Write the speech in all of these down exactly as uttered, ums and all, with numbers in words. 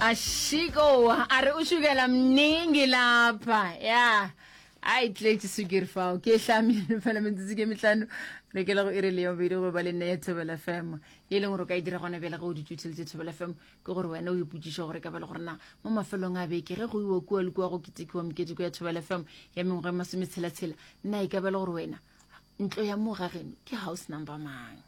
Ashiko a re o šukela mningi lapha ya a e tletše sukiri fao ke e hlamile fela metsotso ke mehlano re ke le go iri le yobedi go ba le nne ya Thobela F M e leng gore o ka e dira gona bjale ge o dutse o theletše Thobela F M ke gore wena o ipotšiše gore ka ba le gore na mo mafelong a beke ge go iwa kua le kua go ketekiwa moketeko ya Thobela F M ya mengwaga e masometshela-tshela nna e ka ba le gore wena ntlo ya mo ga geno ke house number mang.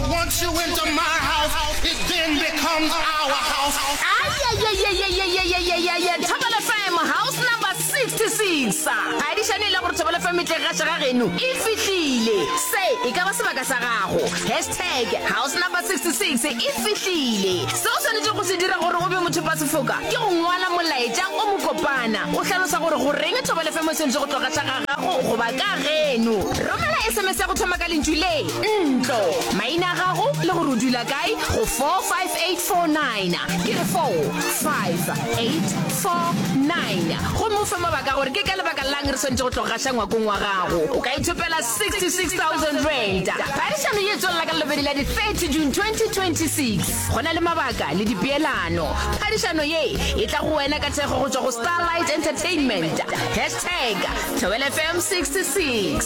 Once you enter my house, it then becomes our house. Ayayayayayayayayaya Thobela F M house number sixty-six phadišano e le gore Thobela F M e tle gaša ga geno e fihlile se e ka ba sebaka sa gago hashtag house number sixty-six e fihlile se o swanetše go se dira gore o be motho pa sefoka ke go ngwala molaetša o mokopana o hlalosa gore goreng Thobela F M e swanetše go tlo gaša ga gago goba ka geno romela S M S ya go thoma ka lentšu le ntlo maina a gago le gore o dula kae go four five eight four nine ke re four five eight four nine gomme o fe mabaka gore ke ka lebaka lang re swanetše go tlo gaša ngwakong wa gago o ka ithopela sixty-six thousand rand. Phadišano ye tswelela ka lebedi la di thirty June twenty twenty-six go na le mabaka le dipeelano phadišano ye e tla go wena ka thekgo go tšwa go Starlight Entertainment hashtag Thobela F M sixty-six.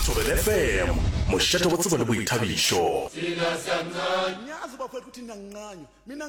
Thobela F M, mošate wa tsebo le boithabišo. Ngiyazi bafowethu ukuthi niyangincanywa mina.